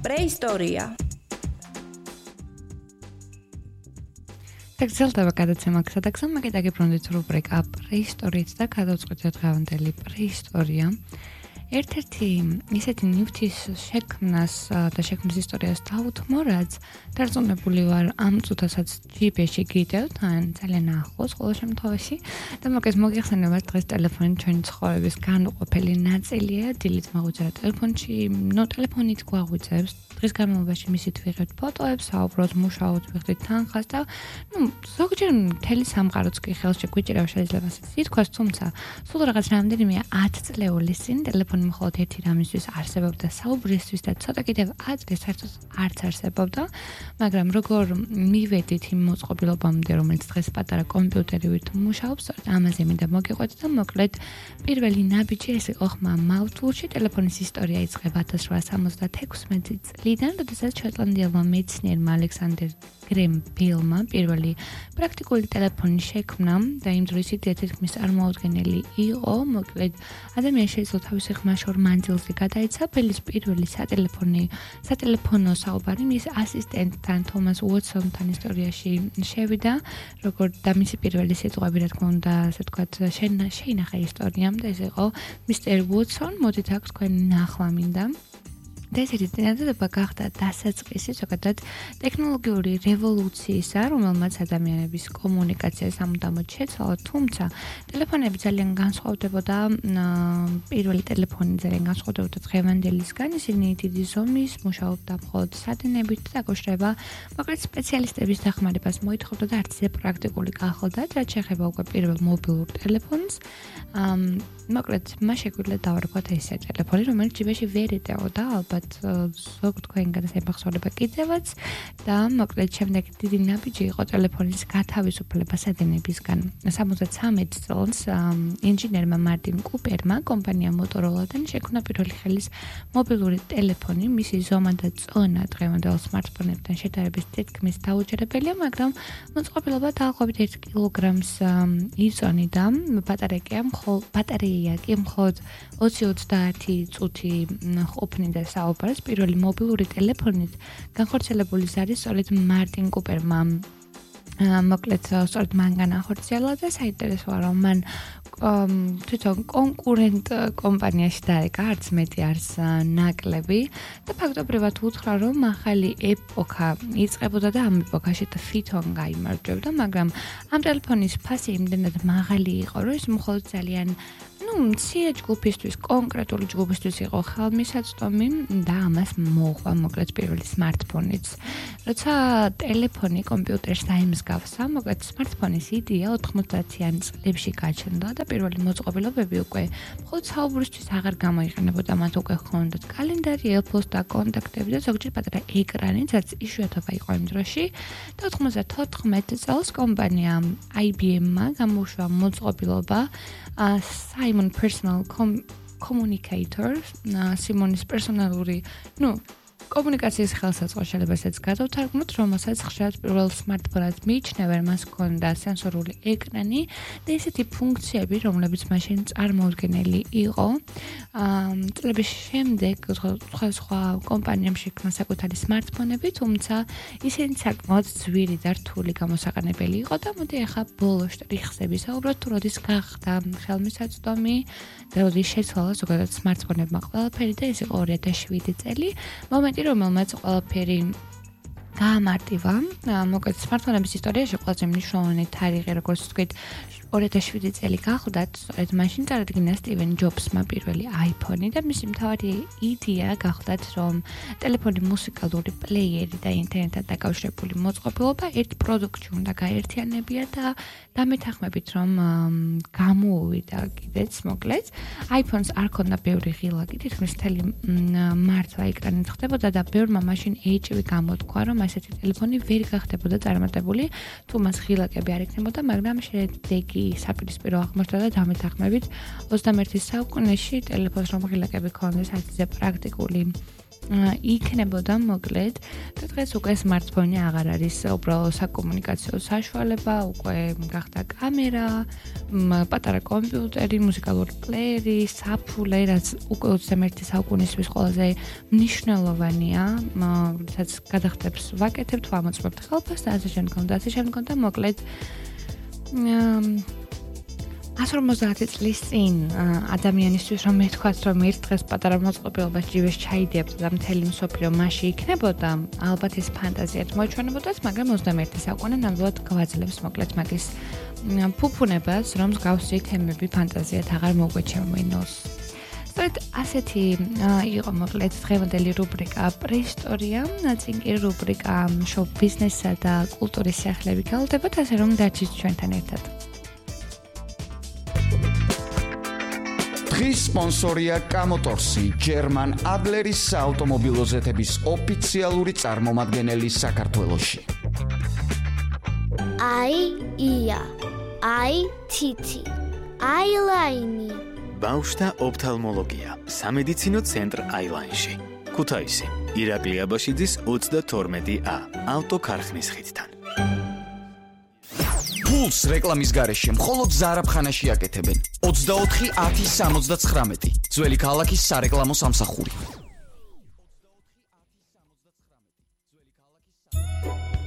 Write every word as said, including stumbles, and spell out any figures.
პრეისტორია. გრძელდება გადაცემა გზადაგზა, მაგით აგიბრუნდით რუბრიკა პრეისტორიით და გადავწყვიტეთ დღევანდელი პრეისტორია. ერთ-ერთი ისეთი ნივთის შექმნას და შექმნის ისტორიას დავუთმო, რაც დარწმუნებული ვარ ამ წუთასაც ჯი პი ეს-ში გიდევთ, ან ძალიან ახლოს ყოველ შემთხვევაში. და მოგეს მოგიხსენებათ დღეს ტელეფონი ჩვენი ცხოვრების განუყოფელი ნაწილია, დილით მაგვიწერა ტელეფონში, ნუ ტელეფონით გვაღვიძებს, დღის განმავლობაში მისით ვიღებთ ფოტოებს, საუბრობთ, მუშაობთ, ვიხდით თანხას და ნუ ზოგჯერ მთელი სამყაროც კი ხელში გვიჭირავს, შეიძლება ასე ითქვას, თუმცა სულ რაღაც რამდენიმე ათ წლეულის წინ ტელეფონი მხოლოდ ერთი რამისთვის არსებობდა საუბრისთვის და ცოტა კიდევ ათი საერთოდ არც არსებობდა, მაგრამ როგორ მივედით იმ მოწყობილობამდე, რომელიც დღეს პატარა კომპიუტერივით მუშაობს, ამაზე მინდა მოგიყვეთ და მოკლედ პირველი ნაბიჯი ეს იყო ხმა მავთულში, ტელეფონის ისტორია იწყება ათას რვაასა სამოცდათექვსმეტი წლიდან, როდესაც შოტლანდიელმა მეცნიერმა ალექსანდერ გრემ ბელმა პირველი პრაქტიკული ტელეფონი შექმნა და იმ დროს იდეა თითქმის წარმოუდგენელი იყო, მოკლედ ადამიანს შეიძლება თავისი ხმა შორ მანძილზე გადაეცა, ბელის პირველი სატელეფონი, სატელეფონო საუბარი მის ასისტენტთან თომას უოტსონთან ისტორიაში შევიდა, როგორ და მისი პირველი სიტყვები, რა თქმა უნდა, ასე ვთქვათ, შეინახა ისტორიამ და ეს იყო მისტერ უოტსონ, მოდით აქ თქვენი ნახვა მინდა. და ესეთი წინადადება გახდა დასაწყისი ზოგადად ტექნოლოგიური რევოლუციისა, რომელმაც ადამიანების კომუნიკაციას სამუდამოდ შეცვალა, თუმცა ტელეფონები ძალიან განსხვავდებოდა, პირველი ტელეფონი ძალიან განსხვავდებოდა დღევანდელისგან, ისინი დიდი ზომის, მუშაობდა მხოლოდ სადინებით და დაკავშირება მოკლედ სპეციალისტების დახმარებას მოითხოვდა და არც ისე პრაქტიკული გახლდათ, რაც შეეხება უკვე პირველ მობილურ ტელეფონს. მოკლედ მას შეგვიძლია დავარქვათ ესე ტელეფონი, რომელიც ჯი პი ეს-ში ვერ ეტეოდა, ალბათ ზოგ თქვენგანაც ემახსოვრება კიდევაც და მოკლედ შემდეგ დიდი ნაბიჯი იყო ტელეფონის გათავისუფლება სადინებისგან. სამოცდათრამეტ წელს ინჟინერმა მარტინ კუპერმა კომპანია მოტოროლადან შექმნა პირველი ხელის მობილური ტელეფონი, მისი ზომა და წონა დღევანდელ სმარტფონებთან შედარებით თითქმის დაუჯერებელია, მაგრამ მოწყობილობა დაახლოებით ერთ კილოგრამს იწონიდა. ბატარეიკა მხოლოდ ბატარეია კი მხოლოდ ოცი ოცდაათი წუთი ყოფნიდა საუბარს პირველი მობილური ტელეფონით განხორციელებული არის სწორედ მარტინ კუპერმა. მოკლედ სწორედ მან განახორციელა და საინტერესოა რომ მან თვითონ კონკურენტ კომპანიაში დაეკა, არც მეტი არც ნაკლები და ფაქტობრივად უთხრა რომ ახალი ეპოქა იწყებოდა და ამ ეპოქაში თვითონ გაიმარჯვებდა, მაგრამ ამ ტელეფონის ფასი იმდენად მაღალი იყო, რომ ის მხოლოდ ძალიან ну, მცირე ჯგუფისთვის, კონკრეტული ჯგუფისთვის იყო ხელმისაწვდომი და ამას მოუყვა მოკლედ პირველი სმარტფონიც. როცა ტელეფონი კომპიუტერს დაემსგავსა, მოკლედ სმარტფონის იდეა ოთხმოცდაათიან წლებში გაჩნდა და პირველი მოწყობილობები უკვე მხოლოდ საუბრისთვის აღარ გამოიყენებოდა, მათ უკვე ჰქონდათ კალენდარი, ელფოსტა, კონტაქტები და ზოგჯერ პატარა ეკრანი, რაც იშვიათობა იყო იმ დროში და ოთხმოცდათოთხმეტ წელს კომპანია აი ბი ემ-მა გამოუშვა მოწყობილობა Simon Personal Communicator, სიმონის პერსონალური, ну, კომუნიკაციის ხელსაწყო შეიძლება ესეც გადავთარგმნოთ, რომელსაც ხშირად პირველ სმარტფონად მიიჩნევენ, მას ჰქონდა სენსორული ეკრანი და ესეთი ფუნქციები, რომლებიც მაშინ წარმოუდგენელი იყო. წლების შემდეგ სხვა კომპანიამ შექმნა საკუთარი სმარტფონები, თუმცა ისინი საკმაოდ ძვირი და რთული გამოსაყენებელი იყო და მოდი ახლა ბოლო შტრიხზე ვისაუბროთ, თუ როდის გახდა ხელმისაწვდომი და როდის შეცვალა ზოგადად სმარტფონებმა ყველაფერი და ეს იყო ორი ათას შვიდი წელი, მომენტი რომელმაც ყველაფერი გაამარტივა. მოკლედ სმარტფონების ისტორიაში ყველაზე მნიშვნელოვანი თარიღი, როგორც ვთქვით, ორი ათას შვიდი წელი გახლდათ, სწორედ მაშინ წარადგინა სტივენ ჯობსმა პირველი აიფონი და მისი მთავარი იდეა გახლდათ, რომ ტელეფონი მუსიკალური პლეიერი და ინტერნეტთან დაკავშირებული მოწყობილობა ერთ პროდუქტში უნდა გაერთიანებია და დამეთანხმებით, რომ გამოუვიდა კიდეც მოკლედ. აიფონს არ ქონდა ბევრი ღილაკი, თითქმის მთელი მართლა ეკრანით ხდებოდა და ბევრმა მაშინ ეიჭვი გამოთქვა, რომ ასეთი ტელეფონი ვერ გახდებოდა წარმატებული, თუ მას ღილაკები არ ექნებოდა, მაგრამ შედეგი საპირისპირო აღმოჩნდა და დამეთანხმებით ოცდამეერთე საუკუნეში ტელეფონს რომ ღილაკები ქონდეს, არც ისე პრაქტიკული იქნებოდა მოკლედ და დღეს უკვე smartphone-ი აღარ არის უბრალოდ საკომუნიკაციო საშუალება, უკვე გახდა კამერა, პატარა კომპიუტერი, მუსიკალური პლეიერი, საფულე, რაც უკვე ოცდამე საუკუნისთვის ყველაზე მნიშვნელოვანია, როდესაც გადახდებს ვაკეთებთ, ვამოწმებთ ხელფასს და ასე შემდგომ და ასე შემდგომ და მოკლედ one fifty წლის წინ ადამიანისთვის რომ მეთქვათ რომ ერთ დღეს პატარა მოწყობილობას ჯივეს ჩაიდიებთ და მთელი მსოფლიო მასში იქნებოდა, ალბათ ეს ფანტაზიად მოიჩვენებოდათ, მაგრამ ოცდამეერთი საუკუნე ნამდვილად გვაძლევს მოკლედ მაგის ფუფუნებას, რომ მსგავსი თემები ფანტაზიად აღარ მოგვეჩვენოს. სწორედ ასეთი იყო მოკლედ დღევანდელი რუბრიკა პრეისტორია, წინ კი რუბრიკა შოუ ბიზნესსა და კულტურის სიახლეები გელოდებათ, ასე რომ დარჩით ჩვენთან ერთად. დღის სპონსორია კამოტორსი, ჯერმან ადლერის საავტომობილო ზეთების ოფიციალური წარმომადგენელი საქართველოში. აი ია, აი თითი, აილაინი. ბავშვთა ოფთალმოლოგია, სამედიცინო ცენტრ აილაინში. ქუთაისი, ირაკლი აბაშიძის ოცდათორმეტი ა, ავტოქარხნის ხიდთან. ფულს რეკლამის გარეშე მხოლოდ ზარაფხანაში აკეთებენ. ოცდაოთხი ათი სამოცდაცხრამეტი, ძველი ქალაქის სარეკლამო სამსახური.